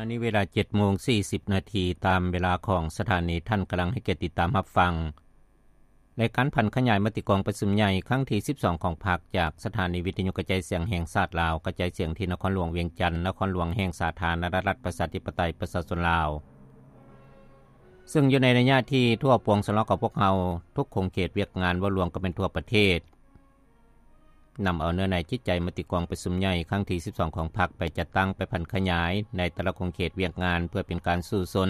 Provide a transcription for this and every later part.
ອັນນີ້ເວລາເຈັດໂມງສີ່ສິບນາທີ ຕາມເວລາຂອງສະຖານີ. ທ່ານກຳລັງໃຫ້ກຽດຕິດຕາມຮັບຟັງ ລາຍການຜັນຂະຫຍາຍມະຕິກອງປະຊຸມໃຫຍ່ຄັ້ງທີສິບສອງຂອງພັກ ຈາກສະຖານີວິທະຍຸກະຈາຍສຽງແຫ່ງຊາດລາວ, ກະຈາຍສຽງທີ່ນະຄອນຫຼວງວຽງຈັນ, ນະຄອນຫຼວງແຫ່ງສາທາລະນະລັດປະຊາທິປະໄຕປະຊາຊົນລາວ, ເຊິ່ງຢູ່ໃນໄລຍະທີ່ທົ່ວປວງຊົນລາວຂອງພວກເຮົາ ທຸກຂົງເຂດວຽກງານ ເວົ້າລວມກໍແມ່ນທົ່ວປະເທດ ນຳເອົາເນື້ອໃນຈິດໃຈມະຕິກອງປະຊຸມໃຫຍ່ຄັ້ງທີສິບສອງຂອງພັກ ໄປຈັດຕັ້ງ, ໄປຜັນຂະຫຍາຍໃນແຕ່ລະຂົງເຂດວຽກງານ ເພື່ອເປັນການສູ້ຊົນ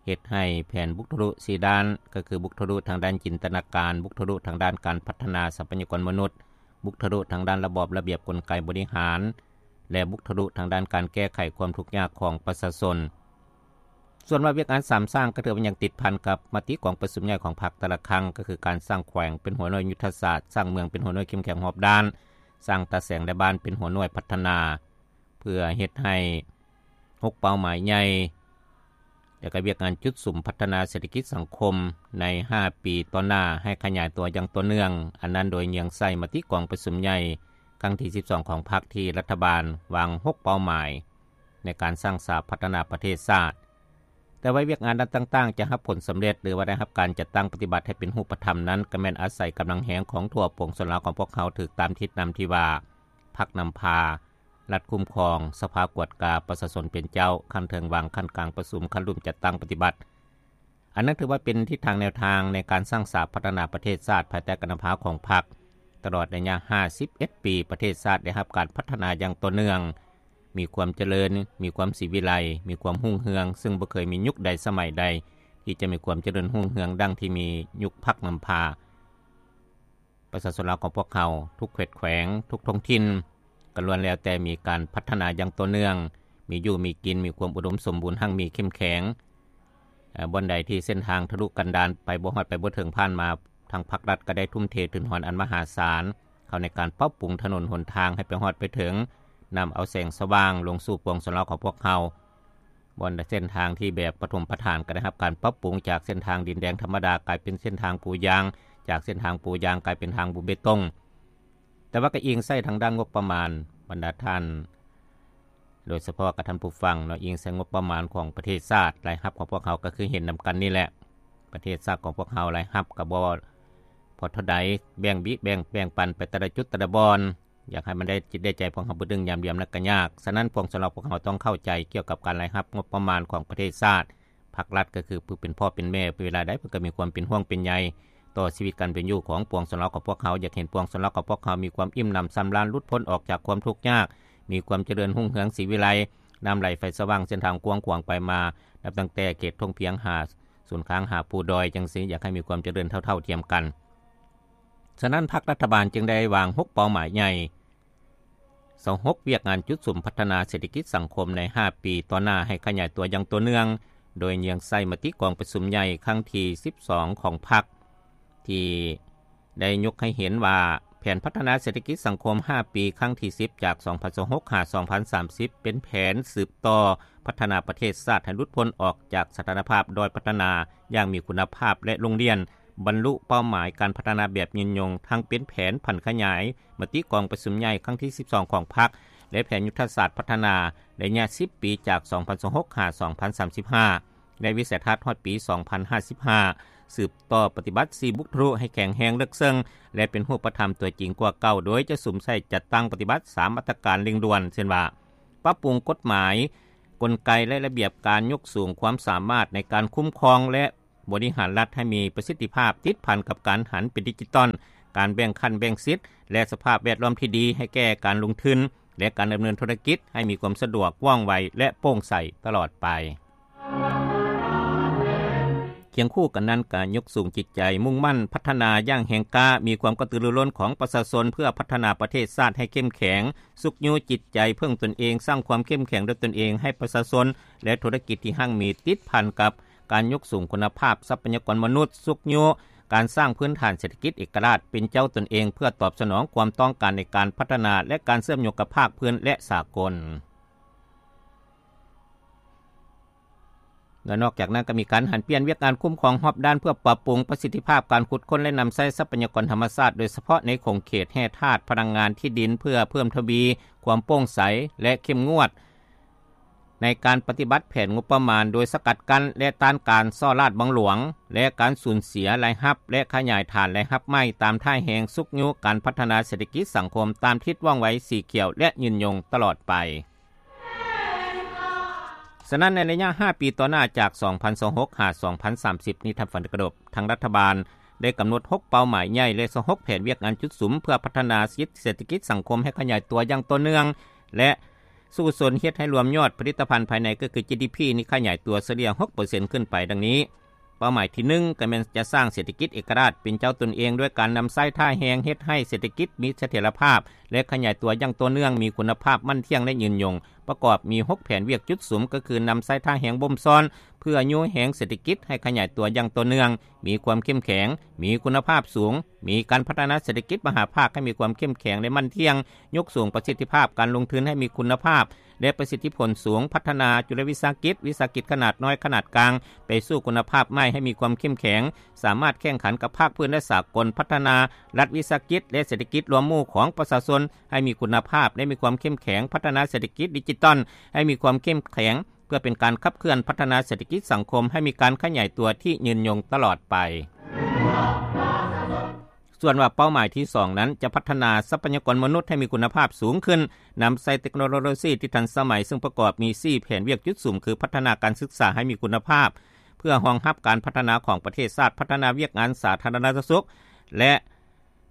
ເຮັດໃຫ້ແຜນບຸກທະລຸສີ່ດ້ານ, ກໍຄືບຸກທະລຸທາງດ້ານຈິນຕະນາການ, ບຸກທະລຸທາງດ້ານການພັດທະນາຊັບພະຍາກອນມະນຸດ, ບຸກທະລຸທາງດ້ານລະບອບລະບຽບກົນໄກບໍລິຫານ ແລະ ບຸກທະລຸທາງດ້ານການແກ້ໄຂຄວາມທຸກຍາກຂອງປະຊາຊົນ. ສ່ວນວ່າວຽກງານສາມສ້າງ ກໍຖືວ່າຍັງຕິດພັນກັບມະຕິກອງປະຊຸມໃຫຍ່ຂອງພັກແຕ່ລະຄັ້ງ, ກໍຄືການສ້າງແຂວງເປັນຫົວໜ່ວຍຍຸດທະສາດ, ສ້າງເມືອງເປັນຫົວໜ່ວຍເຂັ້ມແຂງຮອບດ້ານ, ສ້າງຕາແສງ ແລະ ບ້ານເປັນຫົວໜ່ວຍພັດທະນາ, ເພື່ອເຮັດໃຫ້ຫົກເປົ້າໝາຍໃຫຍ່ ແລະ ກໍວຽກງານຈຸດສຸມພັດທະນາເສດຖະກິດສັງຄົມໃນຫ້າປີຕໍ່ໜ້າ ໃຫ້ຂະຫຍາຍຕົວຢ່າງຕໍ່ເນື່ອງ, ອັນນັ້ນໂດຍເຍືອງໃສ່ມະຕິກອງປະຊຸມໃຫຍ່ຄັ້ງທີສິບສອງຂອງພັກ ທີ່ລັດຖະບານວາງຫົກເປົ້າໝາຍໃນການສ້າງສາພັດທະນາປະເທດຊາດ. ແຕ່ວ່າວຽກງານດ້ານຕ່າງໆຈະຮັບຜົນສຳເລັດ ຫຼືວ່າໄດ້ຮັບການຈັດຕັ້ງປະຕິບັດໃຫ້ເປັນຮູບປະທຳນັ້ນ ກໍແມ່ນອາໄສກຳລັງແຮງຂອງທົ່ວປວງຊົນລາວຂອງພວກເຮົາ ຖືກຕາມທິດນຳທີ່ວ່າ ພັກນຳພາ, ລັດຄຸ້ມຄອງ, ສະພາກວດກາ, ປະຊາຊົນເປັນເຈົ້າ, ຂັ້ນເທິງວາງ, ຂັ້ນກາງປະຊຸມ, ຂັ້ນລຸ່ມຈັດຕັ້ງປະຕິບັດ. ອັນນັ້ນຖືວ່າເປັນທິດທາງແນວທາງໃນການສ້າງສາພັດທະນາປະເທດຊາດ ພາຍໃຕ້ການນຳພາຂອງພັກ. ຕະຫຼອດໄລຍະຫ້າສິບເອັດປີ ປະເທດຊາດໄດ້ຮັບການພັດທະນາຢ່າງຕໍ່ເນື່ອງ, ມີຄວາມຈະເລີນ, ມີຄວາມສີວິໄລ, ມີຄວາມຮຸ່ງເຮືອງ, ເຊິ່ງບໍ່ເຄີຍມີຍຸກໃດສະໄໝໃດທີ່ຈະມີຄວາມຈະເລີນຮຸ່ງເຮືອງດັ່ງທີ່ມີຍຸກພັກນຳພາ. ປະຊາຊົນລາວຂອງພວກເຮົາ ທຸກເຂດແຂວງ, ທຸກທ້ອງຖິ່ນ ກໍລ້ວນແລ້ວແຕ່ມີການພັດທະນາຢ່າງຕໍ່ເນື່ອງ, ມີຢູ່ມີກິນ, ມີຄວາມອຸດົມສົມບູນ, ຮັ່ງມີເຂັ້ມແຂງ. ເອີ ບ່ອນໃດທີ່ເສັ້ນທາງທະລຸກັນດານ ໄປບໍ່ຮອດໄປບໍ່ເຖິງ, ຜ່ານມາທາງພັກລັດກໍໄດ້ທຸ່ມເທທຶນຮອນອັນມະຫາສານ ເຂົ້າໃນການປັບປຸງຖະໜົນຫົນທາງໃຫ້ໄປຮອດໄປເຖິງ, ນຳເອົາແສງສະຫວ່າງລົງສູ່ປວງຊົນລາວຂອງພວກເຮົາ. ບ່ອນເສັ້ນທາງທີ່ແບບປະຖົມປະຖານ ກໍໄດ້ຮັບການປັບປຸງຈາກເສັ້ນທາງດິນແດງທຳມະດາ ກາຍເປັນເສັ້ນທາງປູຢາງ, ຈາກເສັ້ນທາງປູຢາງກາຍເປັນທາງບູເບຕົງ. ແຕ່ວ່າກໍອີງໃສ່ທາງດ້ານງົບປະມານ, ບັນດາທ່ານ ໂດຍສະເພາະກັບທ່ານຜູ້ຟັງເນາະ, ອີງໃສ່ງົບປະມານຂອງປະເທດຊາດ, ລາຍຮັບຂອງພວກເຮົາກໍຄືເຫັນນຳກັນນີ້ແຫຼະ. ປະເທດຊາດຂອງພວກເຮົາລາຍຮັບກໍບໍ່ພໍເທົ່າໃດ, ແບ່ງບິແບ່ງ ແບ່ງປັນໄປແຕ່ລະຈຸດແຕ່ລະບ່ອນ. ຢາກໃຫ້ມັນໄດ້ຈິດໄດ້ໃຈພວກເຮົາເບິດເລື່ອງຍາມດຽວນັ້ນກໍຍາກ. ສະນັ້ນພວກສຳລັບພວກເຮົາຕ້ອງເຂົ້າໃຈກ່ຽວກັບການລາຍຮັບງົບປະມານຂອງປະເທດຊາດ. ພັກລັດກໍຄືຜູ້ເປັນພໍ່ເປັນແມ່, ເວລາໃດເພິ່ນກໍມີຄວາມເປັນຫ່ວງເປັນໃຍຕໍ່ຊີວິດການເປັນຢູ່ຂອງປວງຊົນລາວຂອງພວກເຮົາ. ຢາກເຫັນປວງຊົນລາວຂອງພວກເຮົາມີຄວາມອີ່ມໜຳຊຳລານ, ຫຼຸດພົ້ນອອກຈາກຄວາມທຸກຍາກ, ມີຄວາມຈະເລີນຮຸ່ງເຮືອງສີວິໄລ, ນ້ຳໄຫຼໄຟສະຫວ່າງ, ເສັ້ນທາງກວ້າງຂວາງໄປມາ, ນັບຕັ້ງແຕ່ເຂດທົ່ງພຽງຫາສູນກາງຫາພູດອຍຈັ່ງຊີ້, ຢາກໃຫ້ມີຄວາມຈະເລີນເທົ່າໆທຽມກັນ. ສະນັ້ນ ພັກລັດຖະບານຈຶ່ງໄດ້ວາງຫົກເປົ້າໝາຍໃຫຍ່ ຊາວຫົກ ວຽກງານຈຸດສຸມພັດທະນາເສດຖະກິດສັງຄົມໃນຫ້າປີຕໍ່ໜ້າໃຫ້ຂະຫຍາຍຕົວຢ່າງຕໍ່ເນື່ອງ, ໂດຍເຍືອງໃສ່ມະຕິກອງປະຊຸມໃຫຍ່ຄັ້ງທີສິບສອງຂອງພັກ ທີ່ໄດ້ຍົກໃຫ້ເຫັນວ່າ ແຜນພັດທະນາເສດຖະກິດສັງຄົມຫ້າປີຄັ້ງທີສິບ ຈາກສອງພັນຊາວຫົກ ຫາ ສອງພັນສາມສິບ ເປັນແຜນສືບຕໍ່ພັດທະນາປະເທດຊາດໃຫ້ຫຼຸດພົ້ນອອກຈາກສະຖານະພາບດ້ອຍພັດທະນາຢ່າງມີຄຸນນະພາບ ແລະ ລົງລຽນ ບັນລຸເປົ້າໝາຍການພັດທະນາແບບຍືນຍົງ, ທັງເປັນແຜນຜັນຂະຫຍາຍມະຕິກອງປະຊຸມໃຫຍ່ຄັ້ງທີສິບສອງຂອງພັກ ແລະ ແຜນຍຸດທະສາດພັດທະນາໄລຍະສິບປີ ຈາກສອງພັນຊາວຫົກ ຫາ ສອງພັນສາມສິບຫ້າ ແລະ ວິໄສທັດຮອດປີສອງພັນຫ້າສິບຫ້າ ສືບຕໍ່ປະຕິບັດສີ່ບຸກທະລຸໃຫ້ແຂງແຮງເລິກເຊິ່ງ ແລະ ເປັນຮູບປະທຳຕົວຈິງກວ່າເກົ່າ, ໂດຍຈະສຸມໃສ່ຈັດຕັ້ງປະຕິບັດສາມມາດຕະການເລັ່ງດ່ວນ ເຊັ່ນວ່າ ປັບປຸງກົດໝາຍ, ກົນໄກ ແລະ ລະບຽບການຍົກສູງຄວາມສາມາດໃນການຄຸ້ມຄອງ ແລະ ບໍລິຫານລັດໃຫ້ມີປະສິດທິພາບ, ຕິດພັນກັບການຫັນເປັນດິຈິຕອນ, ການແບ່ງຂັ້ນແບ່ງສິດ ແລະ ສະພາບແວດລ້ອມທີ່ດີໃຫ້ແກ່ການລົງທຶນ ແລະ ການດຳເນີນທຸລະກິດໃຫ້ມີຄວາມສະດວກ, ວ່ອງໄວ ແລະ ໂປ່ງໃສຕະຫຼອດໄປ. ຄຽງຄູ່ກັນນັ້ນ, ການຍົກສູງຈິດໃຈມຸ່ງໝັ້ນພັດທະນາຢ່າງແຮງກ້າ, ມີຄວາມກະຕືລືລົ້ນຂອງປະຊາຊົນເພື່ອພັດທະນາປະເທດຊາດໃຫ້ເຂັ້ມແຂງ, ຊຸກຍູ້ຈິດໃຈເພິ່ງຕົນເອງ, ສ້າງຄວາມເຂັ້ມແຂງດ້ວຍຕົນເອງໃຫ້ປະຊາຊົນ ແລະ ທຸລະກິດທີ່ຮັ່ງມີ, ຕິດພັນກັບ ການຍົກສູງຄຸນນະພາບຊັບພະຍາກອນມະນຸດ, ຊຸກຍູ້ການສ້າງພື້ນຖານເສດຖະກິດເອກະລາດເປັນເຈົ້າຕົນເອງ ເພື່ອຕອບສະໜອງຄວາມຕ້ອງການໃນການພັດທະນາ ແລະ ການເຊື່ອມໂຍງກັບພາກພື້ນ ແລະ ສາກົນ. ແລະ ນອກຈາກນັ້ນກໍມີການຫັນປ່ຽນວຽກງານຄຸ້ມຄອງຮອບດ້ານ ເພື່ອປັບປຸງປະສິດທິພາບການຂຸດຄົ້ນ ແລະ ນຳໃຊ້ຊັບພະຍາກອນທຳມະຊາດ, ໂດຍສະເພາະໃນຂົງເຂດແຮ່ທາດ, ພະລັງງານ, ທີ່ດິນ, ເພື່ອເພີ່ມທະວີຄວາມໂປ່ງໃສ ແລະ ເຂັ້ມງວດ ໃນການປະຕິບັດແຜນງົບປະມານ ໂດຍສະກັດກັ້ນ ແລະ ຕ້ານການສໍ້ລາດບັງຫຼວງ ແລະ ການສູນເສຍລາຍຮັບ ແລະ ຂະຫຍາຍຖານລາຍຮັບໃໝ່ ຕາມທ່າແຮງຊຸກຍູ້ການພັດທະນາເສດຖະກິດສັງຄົມ ຕາມທິດວ່ອງໄວສີຂຽວ ແລະ ຍືນຍົງຕະຫຼອດໄປ. ສະນັ້ນ ໃນໄລຍະຫ້າປີຕໍ່ໜ້າ ຈາກສອງພັນຊາວຫົກຫາສອງພັນສາມສິບນີ້ ທ່ານຟັງທີ່ເຄົາລົບ, ທາງລັດຖະບານໄດ້ກຳນົດຫົກເປົ້າໝາຍໃຫຍ່ ແລະ ຊາວຫົກແຜນວຽກງານຈຸດສຸມ ເພື່ອພັດທະນາເສດຖະກິດສັງຄົມໃຫ້ຂະຫຍາຍຕົວຢ່າງຕໍ່ເນື່ອງ ແລະ ສູ້ຊົນເຮັດໃຫ້ລວມຍອດຜະລິດຕະພັນພາຍໃນ ກໍຄື ຈີດີພີ ນີ້ຂະຫຍາຍຕົວສະເລ່ຍຫົກເປີເຊັນຂຶ້ນໄປ ດັ່ງນີ້. ເປົ້າໝາຍທີໜຶ່ງ ກໍແມ່ນຈະສ້າງເສດຖະກິດເອກະລາດເປັນເຈົ້າຕົນເອງ ດ້ວຍການນຳໃຊ້ທ່າແຮງເຮັດໃຫ້ເສດຖະກິດມີສະຖຽນລະພາບ ແລະ ຂະຫຍາຍຕົວຢ່າງຕໍ່ເນື່ອງ, ມີຄຸນນະພາບ, ໝັ້ນທ່ຽງ ແລະ ຍືນຍົງ. ປະກອບມີຫົກແຜນວຽກຈຸດສຸມ ກໍຄືນຳໃຊ້ທ່າແຮງບົ່ມຊ້ອນ ເພື່ອຍູ້ແຮງເສດຖະກິດໃຫ້ຂະຫຍາຍຕົວຢ່າງຕໍ່ເນື່ອງ, ມີຄວາມເຂັ້ມແຂງ, ມີຄຸນນະພາບສູງ, ມີການພັດທະນາເສດຖະກິດມະຫາພາກໃຫ້ມີຄວາມເຂັ້ມແຂງ ແລະ ໝັ້ນທ່ຽງ, ຍົກສູງປະສິດທິພາບການລົງທຶນໃຫ້ມີຄຸນນະພາບ ແລະ ປະສິດທິຜົນສູງ, ພັດທະນາຈຸລະວິສາຫະກິດ, ວິສາຫະກິດຂະໜາດນ້ອຍ, ຂະໜາດກາງ ໄປສູ່ຄຸນນະພາບໃໝ່ໃຫ້ມີຄວາມເຂັ້ມແຂງ, ສາມາດແຂ່ງຂັນກັບພາກພື້ນ ແລະ ສາກົນ, ພັດທະນາລັດວິສາຫະກິດ ແລະ ເສດຖະກິດລວມໝູ່ຂອງປະຊາຊົນໃຫ້ມີຄຸນນະພາບ ແລະ ມີຄວາມເຂັ້ມແຂງ, ພັດທະນາເສດຖະກິດດິຈິຕອນໃຫ້ມີຄວາມເຂັ້ມແຂງ ເພື່ອເປັນການຂັບເຄື່ອນພັດທະນາເສດຖະກິດສັງຄົມໃຫ້ມີການຂະຫຍາຍຕົວທີ່ຍືນຍົງຕະຫຼອດໄປ. ສ່ວນວ່າເປົ້າໝາຍທີສອງນັ້ນ ຈະພັດທະນາຊັບພະຍາກອນມະນຸດໃຫ້ມີຄຸນນະພາບສູງຂຶ້ນ, ນຳໃຊ້ເຕັກໂນໂລຊີທີ່ທັນສະໄໝ, ເຊິ່ງປະກອບມີສີ່ແຜນວຽກຈຸດສຸມ ຄື ພັດທະນາການສຶກສາໃຫ້ມີຄຸນນະພາບ ເພື່ອຮອງຮັບການພັດທະນາຂອງປະເທດຊາດ, ພັດທະນາວຽກງານສາທາລະນະສຸກ ແລະ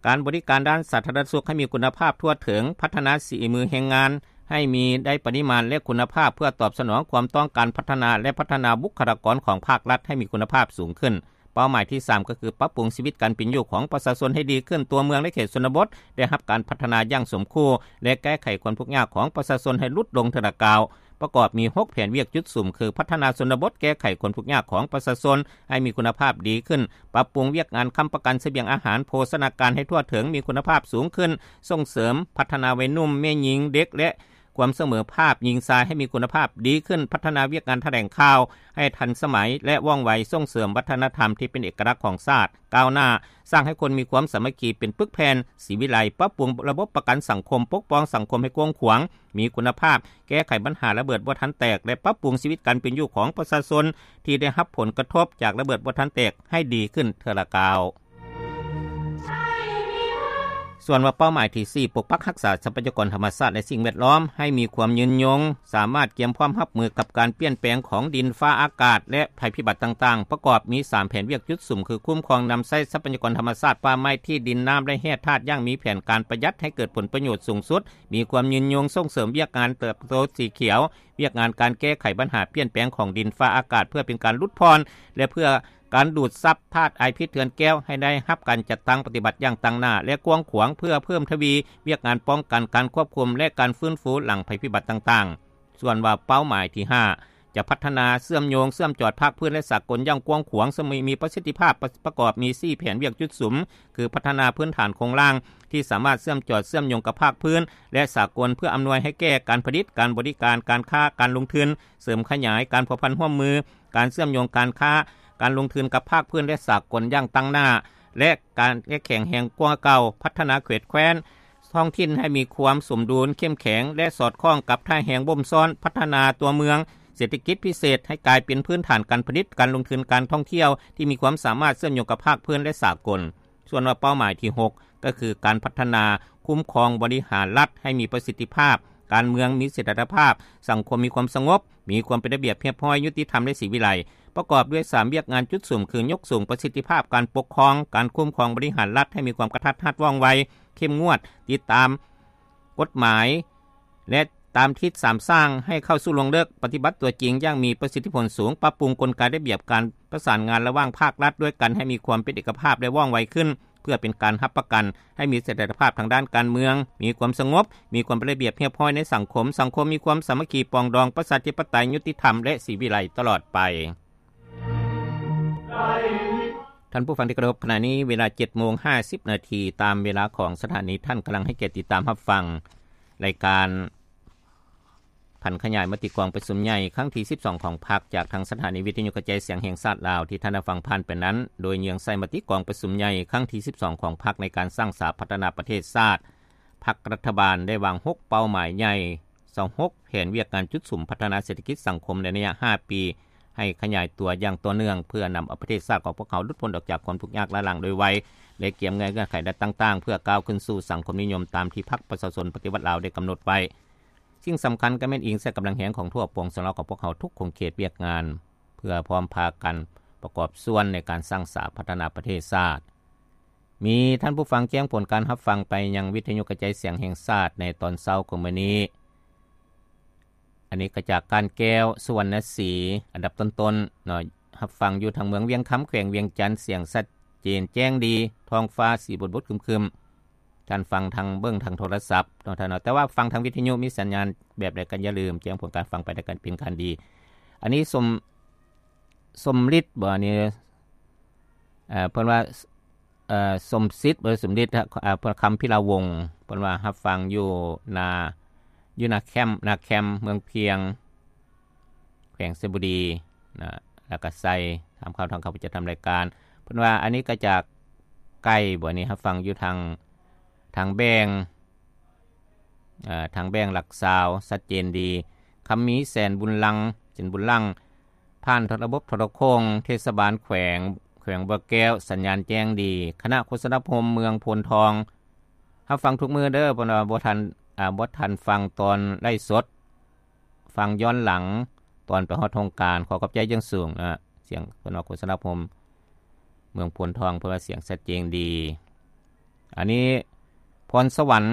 ການບໍລິການດ້ານສາທາລະນະສຸກໃຫ້ມີຄຸນນະພາບທົ່ວເຖິງ, ພັດທະນາສີມືແຮງງານໃຫ້ມີໄດ້ປະລິມານ ແລະ ຄຸນນະພາບ ເພື່ອຕອບສະໜອງຄວາມຕ້ອງການພັດທະນາ ແລະ ພັດທະນາບຸກຄະລາກອນຂອງພາກລັດໃຫ້ມີຄຸນນະພາບສູງຂຶ້ນ. ເປົ້າໝາຍທີສາມ ກໍຄືປັບປຸງຊີວິດການເປັນຢູ່ຂອງປະຊາຊົນໃຫ້ດີຂຶ້ນ, ຕົວເມືອງ ແລະ ເຂດຊົນນະບົດໄດ້ຮັບການພັດທະນາຢ່າງສົມຄູ່ ແລະ ແກ້ໄຂຄວາມທຸກຍາກຂອງປະຊາຊົນໃຫ້ຫຼຸດລົງເທື່ອລະກ້າວ. ປະກອບມີຫົກແຜນວຽກຈຸດສຸມ ຄື ພັດທະນາຊົນນະບົດ, ແກ້ໄຂຄວາມທຸກຍາກຂອງປະຊາຊົນໃຫ້ມີຄຸນນະພາບດີຂຶ້ນ, ປັບປຸງວຽກງານຄ້ຳປະກັນສະບຽງອາຫານ, ໂພຊະນາການໃຫ້ທົ່ວເຖິງ, ມີຄຸນນະພາບສູງຂຶ້ນ, ສົ່ງເສີມພັດທະນາໄວໜຸ່ມ, ແມ່ຍິງ, ເດັກ ແລະ ຄວາມສະເໝີພາບຍິງຊາຍໃຫ້ມີຄຸນນະພາບດີຂຶ້ນ, ພັດທະນາວຽກງານຖະແຫຼງຂ່າວໃຫ້ທັນສະໄໝ ແລະ ວ່ອງໄວ, ສົ່ງເສີມວັດທະນະທຳທີ່ເປັນເອກະລັກຂອງຊາດ, ກ້າວໜ້າ, ສ້າງໃຫ້ຄົນມີຄວາມສາມັກຄີເປັນປຶກແຜ່ນ, ສີວິໄລ, ປັບປຸງລະບົບປະກັນສັງຄົມ, ປົກປ້ອງສັງຄົມໃຫ້ກວ້າງຂວາງ, ມີຄຸນນະພາບ, ແກ້ໄຂບັນຫາລະເບີດບໍ່ທັນແຕກ ແລະ ປັບປຸງຊີວິດການເປັນຢູ່ຂອງປະຊາຊົນທີ່ໄດ້ຮັບຜົນກະທົບຈາກລະເບີດບໍ່ທັນແຕກໃຫ້ດີຂຶ້ນເທື່ອລະກ້າວ. ສ່ວນວ່າເປົ້າໝາຍທີສີ່ ປົກປັກຮັກສາຊັບພະຍາກອນທຳມະຊາດ ແລະ ສິ່ງແວດລ້ອມໃຫ້ມີຄວາມຍືນຍົງ, ສາມາດກຽມພ້ອມຮັບມືກັບການປ່ຽນແປງຂອງດິນຟ້າອາກາດ ແລະ ໄພພິບັດຕ່າງໆ, ປະກອບມີສາມແຜນວຽກຈຸດສຸມ ຄື ຄຸ້ມຄອງນຳໃຊ້ຊັບພະຍາກອນທຳມະຊາດ, ປ່າໄມ້, ທີ່ດິນ, ນ້ຳ ແລະ ແຮ່ທາດຢ່າງມີແຜນການປະຢັດໃຫ້ເກີດຜົນປະໂຫຍດສູງສຸດ, ມີຄວາມຍືນຍົງ, ສົ່ງເສີມວຽກງານເຕີບໂຕສີຂຽວ, ວຽກງານການແກ້ໄຂບັນຫາປ່ຽນແປງຂອງດິນຟ້າອາກາດ ເພື່ອເປັນການຫຼຸດຜ່ອນ ແລະ ເພື່ອການດູດຊັບທາດອາຍພິດເຮືອນແກ້ວໃຫ້ໄດ້ຮັບການຈັດຕັ້ງປະຕິບັດຢ່າງຕັ້ງໜ້າ ແລະ ກວ້າງຂວາງ ເພື່ອເພີ່ມທະວີວຽກງານປ້ອງກັນ, ການຄວບຄຸມ ແລະ ການຟື້ນຟູຫຼັງໄພພິບັດຕ່າງໆ. ສ່ວນວ່າເປົ້າໝາຍທີຫ້າ ຈະພັດທະນາເຊື່ອມໂຍງເຊື່ອມຈອດພາກພື້ນ ແລະ ສາກົນຢ່າງກວ້າງຂວາງ ເຊິ່ງມີປະສິດທິພາບ ປະ ປະກອບມີສີ່ແຜນວຽກຈຸດສຸມ ຄື ພັດທະນາພື້ນຖານໂຄງລ່າງທີ່ສາມາດເຊື່ອມຈອດເຊື່ອມໂຍງກັບພາກພື້ນ ແລະ ສາກົນ ເພື່ອອຳນວຍໃຫ້ແກ່ການຜະລິດ, ການບໍລິການ, ການຄ້າ, ການລົງທຶນ, ເສີມຂະຫຍາຍການພົວພັນຮ່ວມມື, ການເຊື່ອມໂຍງການຄ້າ, ການລົງທຶນກັບພາກພື້ນ ແລະ ສາກົນຢ່າງຕັ້ງໜ້າ ແລະ ການ ແລະ ແຂງແຮງກວ່າເກົ່າ, ພັດທະນາເຂດແຄວ້ນ ທ້ອງຖິ່ນໃຫ້ມີຄວາມສົມດຸນ, ເຂັ້ມແຂງ ແລະ ສອດຄ່ອງກັບທ່າແຮງບົ່ມຊ້ອນ, ພັດທະນາຕົວເມືອງເສດຖະກິດພິເສດໃຫ້ກາຍເປັນພື້ນຖານການຜະລິດ, ການລົງທຶນ, ການທ່ອງທ່ຽວທີ່ມີຄວາມສາມາດເຊື່ອມໂຍງກັບພາກພື້ນ ແລະ ສາກົນ. ສ່ວນວ່າເປົ້າໝາຍທີຫົກ ກໍຄືການພັດທະນາຄຸ້ມຄອງບໍລິຫານລັດໃຫ້ມີປະສິດທິພາບ, ການເມືອງມີສະຖຽນລະພາບ, ສັງຄົມມີຄວາມສະຫງົບ, ມີຄວາມເປັນລະບຽບຮຽບຮ້ອຍ, ຍຸຕິທຳ ແລະ ສີວິໄລ, ປະກອບດ້ວຍສາມວຽກງານຈຸດສຸມ ຄື ຍົກສູງປະສິດທິພາບການປົກຄອງ, ການຄຸ້ມຄອງບໍລິຫານລັດໃຫ້ມີຄວາມກະທັດຮັດວ່ອງໄວ, ເຂັ້ມງວດ, ຕິດຕາມກົດໝາຍ ແລະ ຕາມທິດສາມສ້າງໃຫ້ເຂົ້າສູ່ລວງເລິກ, ປະຕິບັດຕົວຈິງຢ່າງມີປະສິດທິຜົນສູງ, ປັບປຸງກົນໄກລະບຽບການປະສານງານລະຫວ່າງພາກລັດດ້ວຍກັນໃຫ້ມີຄວາມເປັນເອກະພາບ ແລະ ວ່ອງໄວຂຶ້ນ, ເພື່ອເປັນການຮັບປະກັນໃຫ້ມີສະຖຽນລະພາບທາງດ້ານການເມືອງ, ມີຄວາມສະຫງົບ, ມີຄວາມເປັນລະບຽບຮຽບຮ້ອຍໃນສັງຄົມ, ສັງຄົມມີຄວາມສາມັກຄີປອງດອງປະຊາທິປະໄຕ, ຍຸຕິທຳ ແລະ ສີວິໄລຕະຫຼອດໄປ. ທ່ານຜູ້ຟັງທີ່ເຄົາລົບ, ຂະນະນີ້ເວລາເຈັດໂມງຫ້າສິບນາທີ ຕາມເວລາຂອງສະຖານີ. ທ່ານກຳລັງໃຫ້ກຽດຕິດຕາມຮັບຟັງລາຍການຜັນຂະຫຍາຍມະຕິກອງປະຊຸມໃຫຍ່ຄັ້ງທີສິບສອງຂອງພັກ ຈາກທາງສະຖານີວິທະຍຸກະຈາຍສຽງແຫ່ງຊາດລາວ. ທີ່ທ່ານໄດ້ຟັງຜ່ານໄປນັ້ນ ໂດຍເຍືອງໃສ່ມະຕິກອງປະຊຸມໃຫຍ່ຄັ້ງທີສິບສອງຂອງພັກ ໃນການສ້າງສາພັດທະນາປະເທດຊາດ. ພັກລັດຖະບານໄດ້ວາງຫົກເປົ້າໝາຍໃຫຍ່ ຊາວຫົກ ແຜນວຽກງານຈຸດສຸມພັດທະນາເສດຖະກິດສັງຄົມໃນໄລຍະຫ້າປີ ໃຫ້ຂະຫຍາຍຕົວຢ່າງຕໍ່ເນື່ອງ ເພື່ອນຳເອົາປະເທດຊາດຂອງພວກເຮົາຫຼຸດພົ້ນອອກຈາກຄວາມທຸກຍາກລ້າຫຼັງໂດຍໄວ ແລະ ກຽມເງື່ອນໄຂດ້ານຕ່າງໆ ເພື່ອກ້າວຂຶ້ນສູ່ສັງຄົມນິຍົມຕາມທີ່ພັກປະຊາຊົນປະຕິວັດລາວໄດ້ກຳນົດໄວ້. ສິ່ງສຳຄັນກໍແມ່ນອີງໃສ່ກຳລັງແຮງຂອງທົ່ວປວງຊົນລາວຂອງພວກເຮົາທຸກຂົງເຂດວຽກງານ ເພື່ອພ້ອມພາກັນປະກອບສ່ວນໃນການສ້າງສາພັດທະນາປະເທດຊາດ. ມີທ່ານຜູ້ຟັງແຈ້ງຜົນການຮັບຟັງໄປຍັງວິທະຍຸກະຈາຍສຽງແຫ່ງຊາດໃນຕອນເຊົ້າຂອງມື້ນີ້. ອັນນີ້ກໍຈາກການແກ້ວ ສຸວັນນະສີ ອັນດັບຕົ້ນໆເນາະ ຮັບຟັງຢູ່ທາງເມືອງວຽງຄຳ ແຂວງວຽງຈັນ ສຽງຊັດເຈນແຈ້ງດີ ທ້ອງຟ້າສີບົດໆຄຶມໆ. ທ່ານຟັງທາງ ເບິ່ງທາງໂທລະສັບເນາະທ່ານເນາະ ແຕ່ວ່າຟັງທາງວິທະຍຸມີສັນຍານແບບໃດກໍຢ່າລືມແຈ້ງຜົນການຟັງໄປ ແລ້ວກໍເປັນການດີ. ອັນນີ້ສົມ ສົມລິດບໍ ອັນນີ້ ເອີ ເພິ່ນວ່າ ເອີ ສົມສິດບໍ ສົມລິດ ເອີ ເພິ່ນ ຄຳພິລາວົງ ເພິ່ນວ່າຮັບຟັງຢູ່ນາ ຢູ່ນາແຄມ ນາແຄມ ເມືອງພຽງ ແຂວງໄຊຍະບູລີນະ ແລ້ວກໍໃສ່ ຖາມຂ່າວທາງເຂົ້າປະຈຳທຳລາຍການ ເພິ່ນວ່າອັນນີ້ກໍຈາກໄກບໍ ອັນນີ້ຮັບຟັງຢູ່ທາງ ທາງແບງ ເອີ ທາງແບງຫຼັກຊາວ ຊັດເຈນດີ. ຄຳມີ ແສນບຸນລັງ ເຈັນບຸນລັງ ຜ່ານທາງລະບົບໂທລະໂຄ່ງເທດສະບານແຂວງ ແຂວງບໍ່ແກ້ວ ສັນຍານແຈ້ງດີ. ຄະນະໂຄສະນາຄົມເມືອງໂພນທອງ ຮັບຟັງທຸກມື້ເດີ ເພິ່ນວ່າບໍ່ທັນ ອາ ບໍ່ທັນຟັງຕອນໄລຟ໌ສົດ ຟັງຍ້ອນຫຼັງຕອນໄປຮອດໂຮງການ ຂໍຂອບໃຈຢ່າງສູງນະ. ສຽງເພິ່ນວ່າໂຄສະນາຄົມເມືອງໂພນທອງ ເພິ່ນວ່າສຽງຊັດເຈນດີ. ອັນນີ້ ພອນສະຫວັນ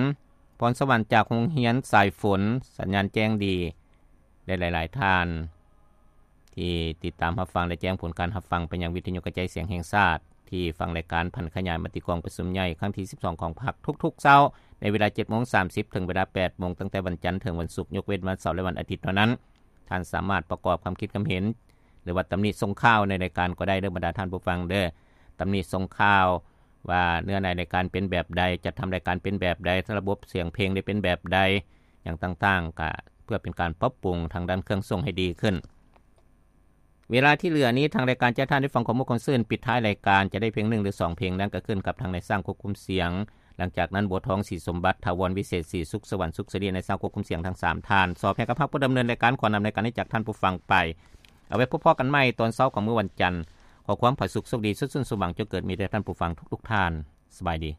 ພອນສະຫວັນຈາກໂຮງຮຽນສາຍຝົນ ສັນຍານແຈ້ງດີ ແລະ ຫຼາຍໆທ່ານທີ່ຕິດຕາມຮັບຟັງ ແລະ ແຈ້ງຜົນການຮັບຟັງໄປຍັງວິທະຍຸກະຈາຍສຽງແຫ່ງຊາດ ທີ່ຟັງລາຍການຜັນຂະຫຍາຍມະຕິກອງປະຊຸມໃຫຍ່ຄັ້ງທີສິບສອງຂອງພັກທຸກໆເຊົ້າ ໃນເວລາເຈັດໂມງສາມສິບ ເຖິງເວລາແປດໂມງ ຕັ້ງແຕ່ວັນຈັນເຖິງວັນສຸກ ຍົກເວັ້ນວັນເສົາ ແລະ ວັນອາທິດເທົ່ານັ້ນ. ທ່ານສາມາດປະກອບຄຳຄິດຄຳເຫັນ ຫຼືວ່າຕຳໜິສົ່ງຂ່າວໃນລາຍການກໍໄດ້ເດີ ບັນດາທ່ານຜູ້ຟັງເດີ. ຕຳໜິສົ່ງຂ່າວວ່າເນື້ອໃນລາຍການເປັນແບບໃດ, ຈັດທຳລາຍການເປັນແບບໃດ, ລະບົບສຽງເພງໄດ້ເປັນແບບໃດ, ຫຍັງຕ່າງໆ ກະເພື່ອເປັນການປັບປຸງທາງດ້ານເຄື່ອງສົ່ງໃຫ້ດີຂຶ້ນ. ເວລາທີ່ເຫຼືອນີ້ ທາງລາຍການຈະໃຫ້ທ່ານໄດ້ຟັງຄວາມມ່ວນຄວາມຊື່ນ ປິດທ້າຍລາຍການຈະໄດ້ເພງໜຶ່ງ ຫຼື ສອງເພງ ນັ້ນກໍຂຶ້ນກັບທາງນາຍຊ່າງຄວບຄຸມສຽງ. ຫຼັງຈາກນັ້ນ ບົວທອງ ສີສົມບັດ, ຖາວອນ ວິເສດສີສຸກ, ສະຫວັນ ສຸກສິລິ ນາຍຊ່າງຄວບຄຸມສຽງທັງສາມທ່ານ ສອບໃຫ້ກັບເຮົາຜູ້ດຳເນີນລາຍການ ຂໍນຳລາຍການນີ້ຈາກທ່ານຜູ້ຟັງໄປ. ເອົາໄວ້ພົບພໍ້ກັນໃໝ່ຕອນເຊົ້າຂອງມື້ວັນຈັນ. ຂໍຄວາມຜາສຸກໂຊກດີ ສຸກຊື່ນສົມຫວັງ ຈົ່ງເກີດມີແດ່ທ່ານຜູ້ຟັງທຸກໆທ່ານ. ສະບາຍດີ.